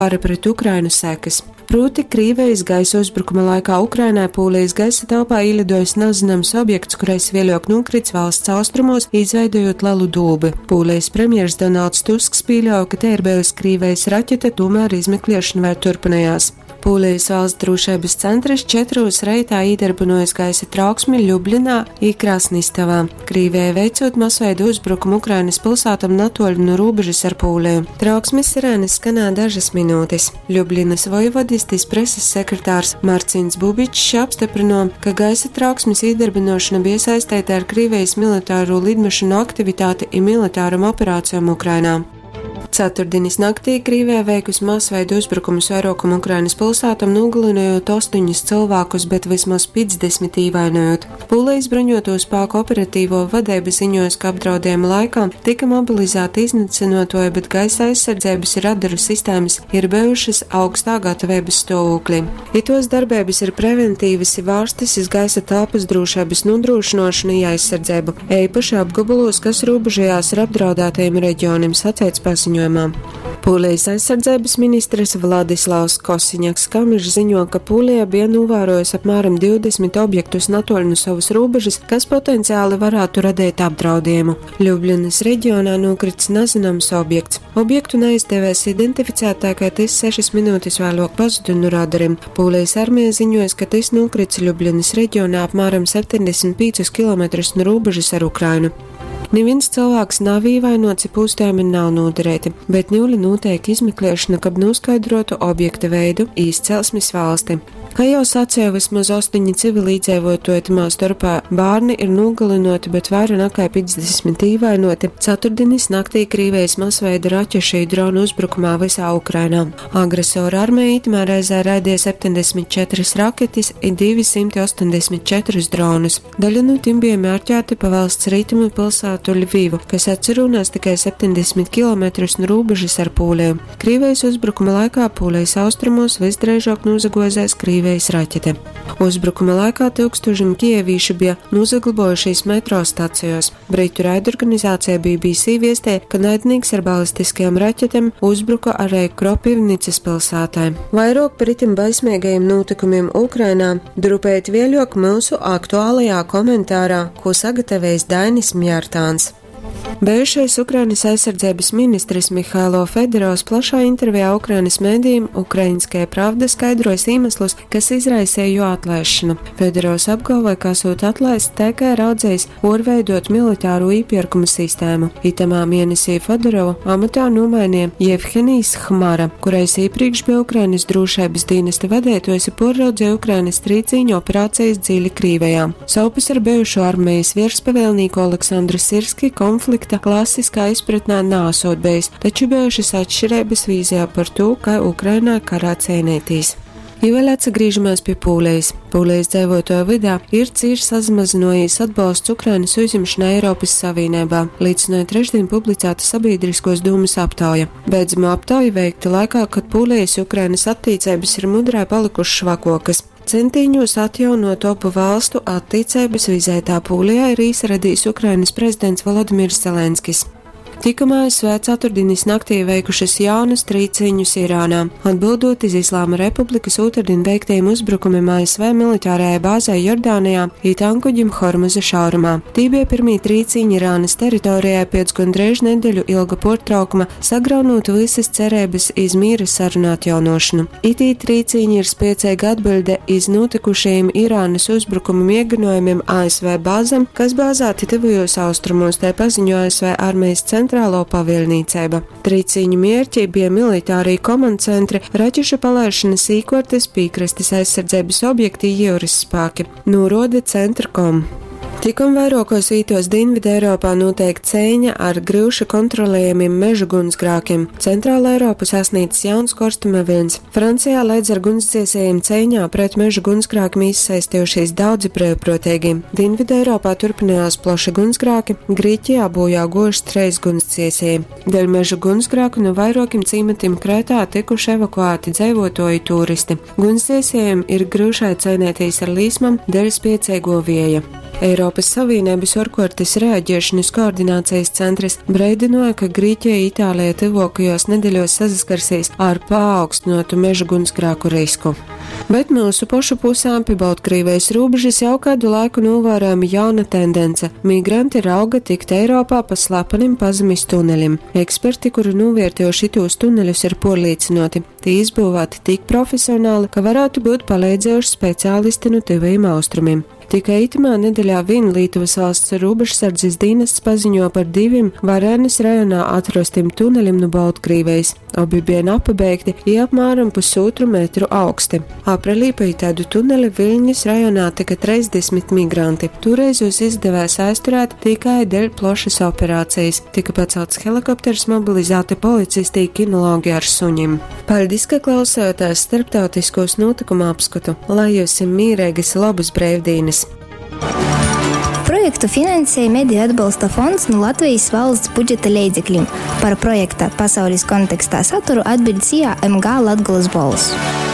Kara pret Ukrainu sekys. Prūti, Krīvejis gaisa uzbrukuma laikā Ukrainai Pūlijas gaisa telpā īlidojis nazināms objekts, kurais vēļok nūkrits valsts austrumos, izveidojot lelu dūbi. Pūlijas premjers Donalds Tusks pieļauj, ka te ir bijusi Krīvijas raķete, tomēr izmeklēšana vēl turpinājās. Pūlijas valsts drošības centrs 4 reitā īdarbinojis gaisa trauksmi Ljubļanā i Krasnistavā, Krīvijai veicot masveidu uzbrukumu Ukrainas pilsētam natoļu no robežas ar Pūliju. Trauksmes sirēnas skanā dažas minūtes. Ljubljanas vojvodistis preses sekretārs Marcins Bubičs apstiprino, ka gaisa trauksmes īdarbinošana bija saistīta ar Krīvijas militāro lidmašīnu aktivitāti i militāram operācijām Ukrainā. Ceturtdienas naktī Krīvijā veikusi masveidu uzbrukumus vairākam Ukrainas pilsētam, nogalinot 8 cilvēkus, bet vismaz 50 īvainojot. Pūlijas bruņoto spēku operatīvo vadība ziņojas, ka apdraudējuma laikā tika mobilizēti iznīcinotoji, bet gaisa aizsardzības radaru sistēmas ir bijušas augstā gatavības stāvoklī. Itos darbības ir preventīvas i vārstas iz gaisa telpas drošības nodrošināšanu i aizsardzību, īpaši apgabalos, kas robežojās ar apdraudētajiem reģioniem, sacīts paziņojumā. Pūlijas aizsardzības ministrs Vladislavs Kosiņaks Kamišs ziņo, ka Pūlijā bija novērojis apmēram 20 objektus natoļ no savas robežas, kas potenciāli varētu radīt apdraudējumu. Ljubljanas reģionā nokrits nezināms objekts. Objektu neizdevies identificēt, tā kā tas 6 minūtes vēlāk pazuda no radariem. Pūlijas armija ziņojas, ka tas nokrits Ljubljanas reģionā apmēram 75 km no robežas ar Ukrainu. Neviens cilvēks nav ievainots, ja pūstējumi nav noderēti, bet nulli notiek izmeklēšana, kab noskaidrotu objekta veidu, izcelsmes valsti. Kā jau sacīju, vismaz 8 civilīdzīvotoji, tamā starpā bērni ir nogalinoti, bet vairāk nekā 50 ievainoti. Ceturtdienas naktī Krīvijas masveida raķešu dronu uzbrukumā visā Ukrainā. Agresora armija itamā reizē raidīja 74 raketes i 284 dronus. Daļa no tiem bija mērķēti pa valsts rietumu pilsētu Ļvivu, kas atcerunās tikai 70 km no robežas ar Pūliju. Krīvijas uzbrukuma laikā Pūlijas austrumos visdrīzāk nozagozēs Krīvijas raķete. Uzbrukuma laikā tūkstošiem kievīšu bija nozaglabojušies metro stacijos. Britu raidorganizācija BBC viestē, ka naidnieks ar balistiskajām raķetēm uzbruka arī Kropivnicas pilsētai. Vairāk par itim baismīgajiem notikumiem Ukrainā drupēt vēļok mūsu aktuālajā komentārā, ko sagatavējis Dainis Mjārtāns. Bijušais Ukrainas aizsardzības ministrs Mihailo Fedorovs plašā intervijā Ukrainas mēdījiem Ukrainskajai Pravda skaidrojas iemeslus, kas izraisīja jo atlaišanu. Fedorovs apgalvoja, ka esot atlaists tikai raudzējis orveidot militāro īpirkumu sistēmu. Itamā mēnesī Fedorovu amatā nomainīja Jevhenijs Hmara, kurais iepriekš bija Ukrainas drošības dienesta vadītājs un porraudzīja Ukrainas trīcīņu operācijas dziļi Krīvijā. Saupes ar bijušo armijas virspavēlnieku Aleksandru Sirski konflikta klasiskā izpratnē nāsot bijis, taču bijušas atšķirības vīzijā par to, kā Ukrainā karā cīnītīs. Ja vēl atgriežamies pie Pūlijas. Pūlijas dzīvotāju vidā ir cīši sazmazinājies atbalsts Ukrainas uzņemšanai Eiropas Savienībā, liecināja trešdien publicēta sabiedriskos dūmas aptauja. Beidzamo aptauja veikta laikā, kad Pūlijas Ukrainas attiecības ir mudrā palikušas švakokas. Centīņos atjaunot abu valstu attiecības vizētā Pūlijā ir īsaradījis Ukrainas prezidents Volodimirs Zelenskis. Tikumā ASV ceturtdienas naktī veikušas jaunas trīciņus Irānā, atbildot iz Islāma Republikas otrdien veiktajiem uzbrukumiem ASV militārajai bāzei Jordānijā i tankuģim Hormuza šaurumā. Tī bija pirmī trīciņi Irānas teritorijā pēc gandrīz nedēļu ilga portraukuma, sagraunot visas cerības iz mīra sarunu atjaunošanu. Itī trīciņi ir spēcīga atbilde iz notikušajiem Irānas uzbrukuma mēģinājumiem ASV bāzēm, kas bāzēti tuvajos austrumos, tā paziņo ASV armijas centrālo pavēlniecība. Trīciņu mērķi bija militārī komandcentri, raķešu palaišanas īkortes, piekrastes aizsardzības objekti, jūras spēki, norāda Centrcom. Tikom vairākos vītos Dienvidu Eiropā notiek cīņa ar grūši kontrolējamiem meža gunsgrākiem. Centrāla Eiropu sasniedz jauns korstuma vilnis. Francijā līdz ar gunsdziesējiem cīņā pret meža gunsgrākiem izsaistījušies daudzi brīvprātīgi. Dienvidu Eiropā turpinājās plaši gunsgrāki, Grieķijā bojā gojuši treis gunsdziesēji. Dēļ meža gunsgrāku no vairākiem ciematiem Krētā tikuši evakuēti dzīvotoji turisti. Gunsdziesējiem ir grūšai cīnīties ar līsmam dēļ spiecīgo vieja. Eiropys Savīneibys uorkuortys reagiešonys koordinacejis centrys breidynuoja, ka Grīķeja i Itāleja tyvuokajuos nedeļuos sasaskarsīs ar paaugstynuotu meža guņsgrāku risku. Bet myusu pošu pusē pi Boltkrīvejis rūbežys jau kaidu laiku nūvārojama jauna tendence - migranti rauga tikt Eiropā pa slepenim pazemis tunelim. Eksperti, kuri nūviertiejuši itūs tuneļus, ir puorlīcynuoti, tī izbyuvāti tik profesionali, ka varātu byut paleidzējuši speciālisti nu Tyvajim Austrumim. Tikai itamā nedeļā vīn Lītuvas valsts rūbežsardzis dīnests paziņo par divim Varēnis rajonā atrostim tunelim nu Boltkrīvejis. Obi bija napabeigti i apmēram pusotru metru augsti. Aprelī pa itaidu tuneli Viļņas rajonā tyka 30 migranti. Tūreiz jūs izdevēs aizturēt tikai dēļ plošas operācijas. Tika pacelts helikopters, mobilizēti policisti i kinologi ar suņim. Paļdis, ka klausējāties starptautiskos notikumu apskatu. Lai jums mīreigas lobas breivdīnas! Projektu finansēja Mediju atbalsta fonds nu Latvijas valsts budžeta leidzekļim. Par projekta pasaules kontekstā saturu atbild SIA MG Latgolas Bolss.